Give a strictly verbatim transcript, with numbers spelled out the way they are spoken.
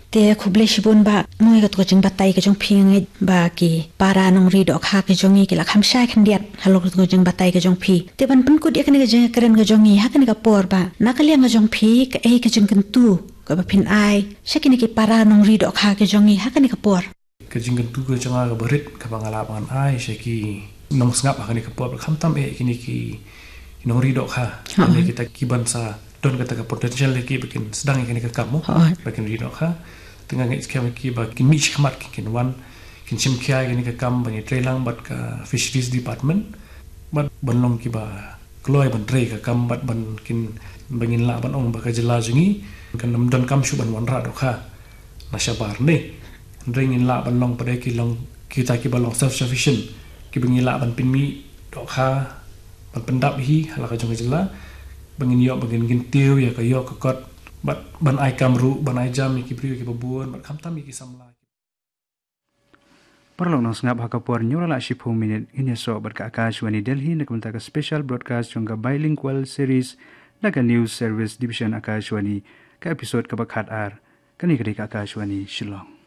Te khublei shibun Bah, mo ïa kato ka jingbatai ka jong phi. Nga ngeit ba ki para nongri dohkha ki jong ngi ki la kham shai khyndiat halor kato ka jingbatai ka jong phi. Te ban pynkut ïa kane ka jingkren ka jong ngi ha kane ka por Bah, na ka liang ka jong phi, kaei ka jingkyntu kaba phin ai sha kine ki para nongri dohkha ki jong ngi ha kane ka por? Ka jingkyntu ka jong nga kaba rit kaba nga lah ban ai sha ki nongsngap ha kane ka por, khamtam eh kine ki nongri dohkha, ha, kine kita ki ban sa don kata ka potential lagi ba kin sdang ïa kane ka kam mo, ha, ba kin ri dohkha. Te nga ngeit skhem ki ba kin mih shakhmat, kin wan, kin shim khia ïa kane ka kam ban ïatrei lang bad ka Fisheries Department, bad ban long kiba kloi ban trei ka kam, bad ban kin, ba ngin lah ban ong ba ka jylla jong ngi kan ym donkam shuh ban wanrah dohkha na shabar ne. Hynrei ngin lah ban long pat ki long kita kiba long self sufficient, kiba ngi lah ban pynmih dohkha, ban pyndap hi ha la ka jong ka jylla, ba ngin ïoh, ba ngin kyntiew ïa ka ïoh ka kot, bad ban ai kam ruh, ban ai jam ïa ki briew kiba bun, bad khamtam ïa ki samla. Paralok nongsngap, ha ka por hynñiew la shiphew minit ngin ïasoh bad ka Akashvani Delhi na ka bynta ka special broadcast jong ka bilingual series na ka News Service Division Akashvani, ka episode kaba khat ar. Kane ka dei ka Akashvani Shillong.